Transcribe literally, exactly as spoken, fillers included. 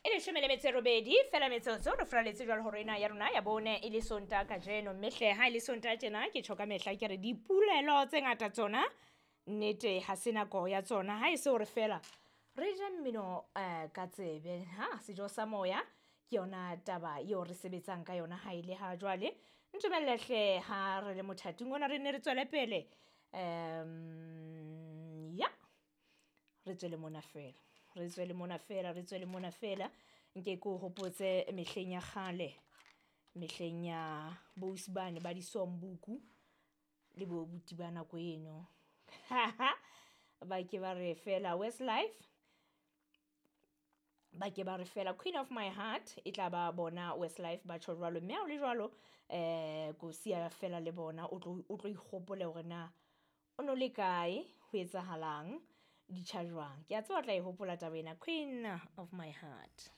E leshome le metso e robedi fela metsotso re furaletse jwalo hore ena ya rona ya bone e le Sontaha kajeno, mme hle ha e le Sontaha tjena ke tjho ka mehla ke re dipolelo tse ngata tsona nnete ha se nako ya tsona, ha e se hore fela re je mmino um ka tsebe. Ha sejo sa moya ke yona taba eo re sebetsang ka yona ha e le ha jwale. Ntumelle hle ha re le mothating ona re nne re tswele pele um ya re tswele mona fela, re tswele mona fela, re tswele mona fela. Nke ke o hopotse mehleng ya kgale, mehleng ya boausi bane ba disombuku le bo buti ba nako eno. Ba ke ba re fela Westlife, ba ke ba re fela Queen of my heart e tla ba bona Westlife ba tjho jwalo, mme ha o le jwalo eh ko siya fela le bona o tlo o tlo ikgopole hore na o no le kae, ho etsahalang, di tjha jwang. Ke a tseba o tla e hopola taba ena, Queen of my heart.